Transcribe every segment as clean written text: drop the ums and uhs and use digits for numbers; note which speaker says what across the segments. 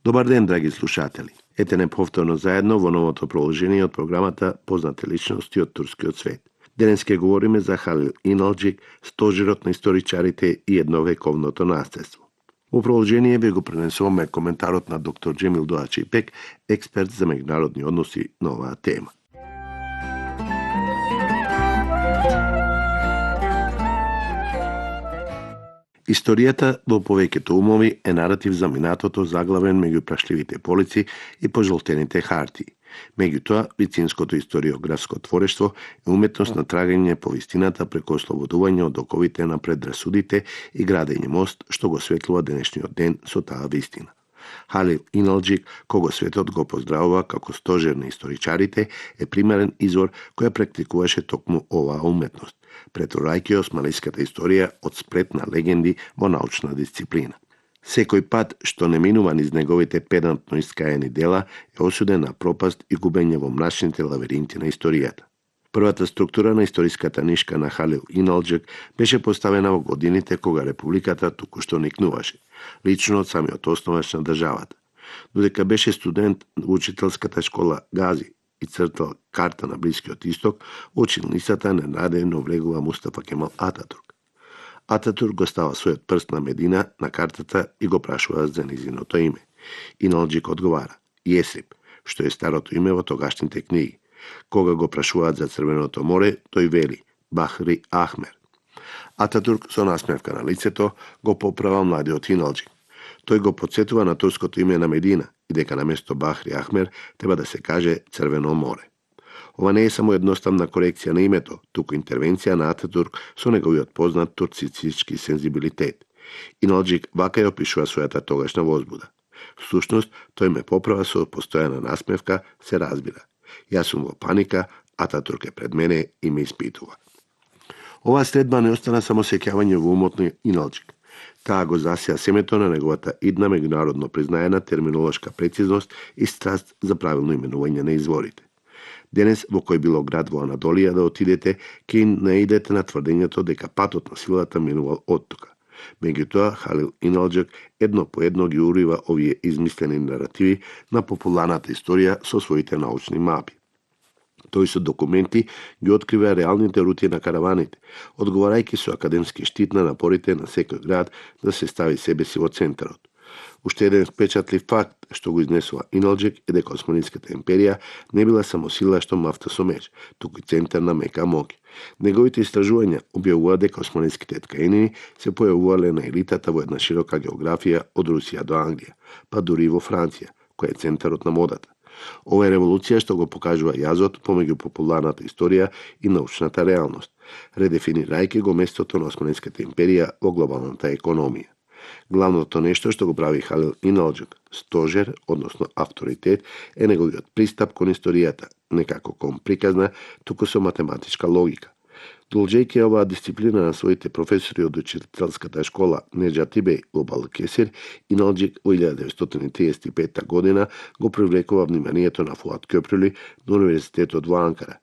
Speaker 1: Добар ден, драги слушатели. Ете не повторно заедно во новото проложение од програмата Познати личности од турскиот свет. Денес ќе говориме за Халил Иналџик, стожерот на историчарите и едновековното наследство. Во проложение ви го пренесуваме коментарот на доктор Джемил Доачи Пек, експерт за меѓународни односи на оваа тема. Историјата во повеќето умови е наратив за минатото заглавен меѓу прашливите полици и пожолтените хартии. Меѓутоа, вицинското историографско творештво е уметност на трагање по вистината преку ослободување од оковите на предрасудите и градење мост што го светлува денешниот ден со таа вистина. Халил Иналџик, кого светот го поздравува како стожер на историчарите, е примерен извор која практикуваше токму оваа уметност, претворајќи османлиската историја од сплет на легенди во научна дисциплина. Секој пат што не минува низ неговите педантно искаени дела е осуден на пропаст и губење во мрачните лавиринти на историјата. Првата структура на историската нишка на Халил Иналџик беше поставена во годините кога републиката току-што никнуваше, лично од самиот основач на државата. Додека беше студент во учителската школа Гази и цртал карта на Блискиот Исток, училницата ненадејно влегува Мустафа Кемал Ататурк. Ататурк го става својот прст на Медина на картата и го прашува за низиното име. Иналџик одговара Јесрип, што е старото име во тогашните книги. Кога го прашуваат за Црвеното море, тој вели Бахри Ахмер. Ататурк со насмевка на лицето го поправа младиот Иналџик. Тој го потсетува на турското име на Медина и дека наместо Бахри Ахмер треба да се каже Црвено море. Ова не е само едноставна корекција на името, туку интервенција на Ататурк со неговиот познат турцистички сензибилитет. Иналџик вака ја опишува својата тогашна возбуда. Всушност, тој ме поправа со постојана насмевка, се разбира. Јас сум во паника, Ататурк е пред мене и ме испитува. Оваа средба не остана само сеќавање во умот на Иналџик. Таа го засија семето на неговата идна меѓународно признаена терминолошка прецизност и страст за правилно именување на изворите. Денес, во кој било град во Анадолија да отидете, ќе наидете на тврдењето дека патот на силата минувал оттука. Меѓутоа, Халил Иналџик едно по едно ги урива овие измислени наративи на популарната историја со своите научни мапи. Тој со документи ги открива реалните рути на караваните, одговарајќи со академски штит на напорите на секој град да се стави себе си во центарот. Уште еден впечатлив факт што го изнесува Иналџик е дека Османлиската империја не била само сила што мафта со меч, туку и центар на мека моќ. Неговите истражувања објавува дека османлиските ткаенини се појавувале на елитата во една широка географија од Русија до Англија, па дури и во Франција, која е центарот на модата. Ова е револуција што го покажува јазот помеѓу популарната историја и научната реалност, редефинирајќи го местото на Османлиската империја во глобалната економија. Главното нешто што го прави Халил Иналџик, стожер, односно авторитет, е неговиот пристап кон историјата, не како кон приказна, туку со математичка логика. Должејќи оваа дисциплина на своите професори од учителската школа Неџати Беј во Балкесир, Иналџик во 1935 година го привлекува вниманието на Фуат Кёпрюли на Универзитетот во Анкара.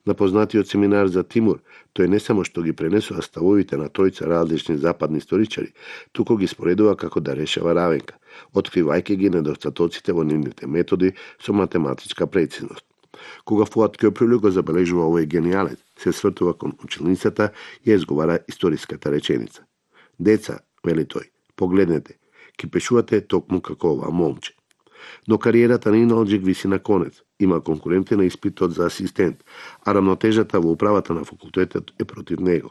Speaker 1: На познатиот семинар за Тимур, тој не само што ги пренесува ставовите на тројца различни западни историчари, туку ги споредува како да решава равенка, откривајќи ги недостатоците во нивните методи со математичка прецизност. Кога Фуат Кёпрюли го забележува овој гениалец, се свртува кон училницата и изговара историската реченица. Деца, вели тој, погледнете, ки пишувате токму како ова момче. Но кариерата на Иналџик виси на конец. Има конкуренти на испитот за асистент, а рамнотежата во управата на факултетот е против него.